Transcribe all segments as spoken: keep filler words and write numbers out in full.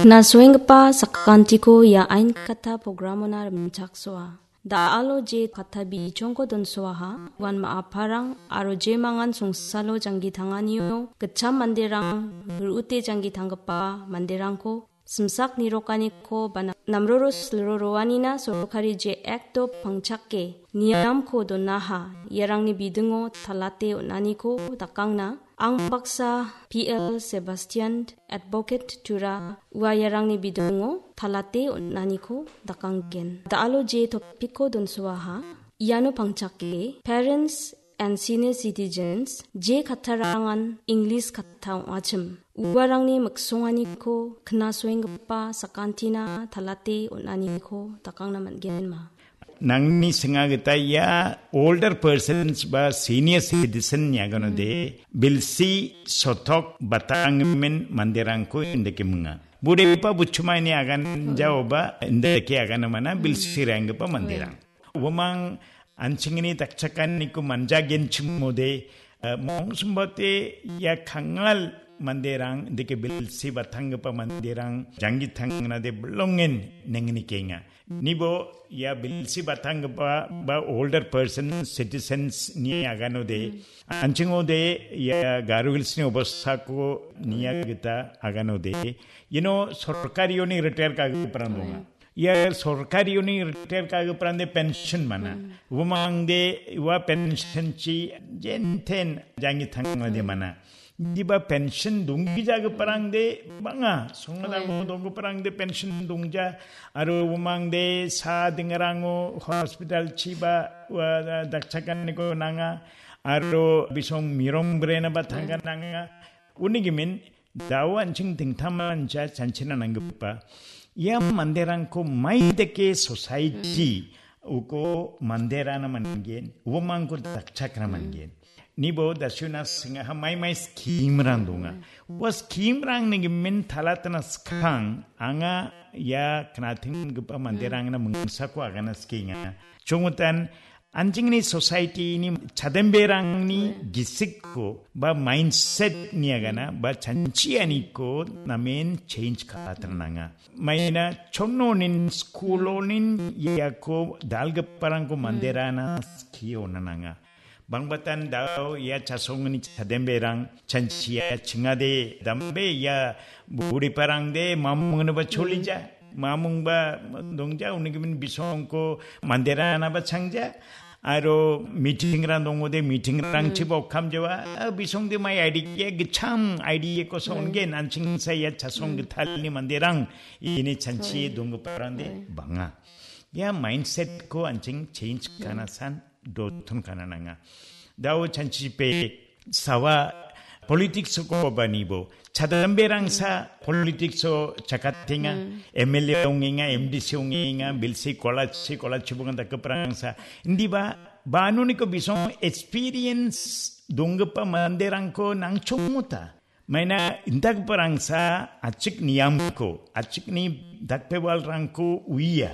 Nasoenggipa sakantiko ia ain katta programona rimchaksoa. Da·alo je katta bichongko donsoaha, uan ma·aparang aro je mangan songsalo janggi tanganio gitcham manderang, ru·ute janggi tanggipa manderangko simsak nirokaniko ba na-, namroro silroroanina sorkari je Act-o pangchake niamko donaha, iarangni bidingo talate on·aniko dakangna ang baksa P L Sebastian Advocate Tura ua iarangni bidingo talate on·aniko dakanggen. Da·alo je topiko donsoaha, iano pangchake Parents and Senior Citizens je kattarangan English katta ong·achim. Uarangni miksonganiko knasoenggipa sakantina talate on·aniko dakangna man·genma. Nangni singa gita ia older persons ba senior citizen iaganode bilsi sotok batanggimin manderangko indake minga. Budepa buchumaini agan jaoba indake aganamana bilsi renggipa manderang. Uamang anchingni dakchakaniko manjagenchimode, eh, mongsumbate ia kangal manderang, deke bilsi batanggipa manderang, janggi tangnade belongen nengni kenga. Nibo ia bilsi batanggipa ba older person citizens ni aganode, anchingode ia Garo Hills ni obostako nia gita aganode, you know, sorkarioni retire kagiparang donga. Ia sorkarioni retire kagiparangde pension mana. Uamangde ua pension chi jenten janggi tangnade mana. Diba pension donggijagiparangde bang·a. Songna donggiparangde pension dongja. Aro uamangde sa dingarango hospital chiba ua dakchakaniko nanga. Aro bisong mirong brena ba tangka nanga. Unigimin, dao anching dingtangmancha chanchina nanggipa. Ia manderangko maidake society uko manderana manggen, uamangko dakchakna manggen. Nibo dasiuna singaha mai mai scheme rang donga. Ua scheme rang nigimin talatna skang anga ia knatinggipa manderangna mingsako agana skenga. Chongutan anchingni society ni chademberangni gisikko ba mindset ni agana ba chanchianiko namen change ka·atna nanga. Maina chonnonin, schoolonin iako dalgiparangko manderana skio nananga. Bangbatan dao ia chasongni chademberang chanchia chingade dambe ia buriparangde mamungni ba cholija. Mamung ba dongja unigimin bisongko manderana ba changja. Aro meeting rang dongode meeting rang chiba okam jawa. Ah, bisongde mai idea gicham idea ko songgen anching saya chasong gitalni manderang ini chanchi donggiparangde banga. Ia mindset ko anching change kana san dotun kana nanga. Dao chanchi pe sawa politics ko banibo. Chadamberangsa politics o chakatenga, M L A ongenga, M D C ongenga, bilsi kolachi, kolachi bunga dakeprangsa. Indiba, banuniko bisong experience donggipa manderangko nangchonguta. Maina indakgiparangsa achik niamko, achikni dakpewalrangko uia.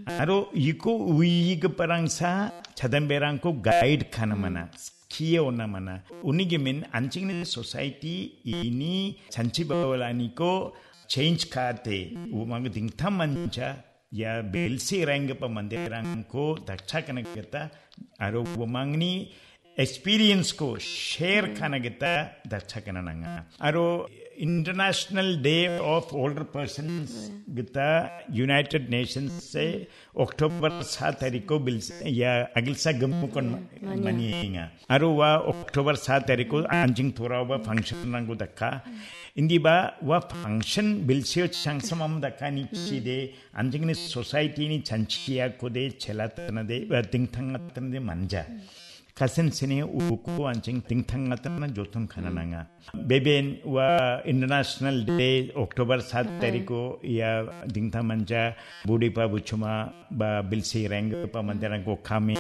Aro iko uigiparangsa chadamberangko guide kana mana, skie ona mana. Unigimin anchingni society ini chanchi bawalaniko change kate, uamang dingtangmancha ia bilsi renggipa manderangko dakchakana gita aro uamangni experience ko share kana gita dakchakana nanga. Aro International Day of Older Persons gita United Nations se October sa tariko bil ya agilsa gemukon manienga. Aro ua October sa tariko anjing torao ba function rangko daka. Indi ba ua function bilsio changsamam daka ni chide anjingni society ni chanchia kode chelatana de, ba dingtang atana de manja. Kasen sene uku anjing dingtang atana jotun kana nanga. Beben ua International Day October sat tariko ia dingtang manja budi pa buchuma ba bilsi reng pa mandarang ko kami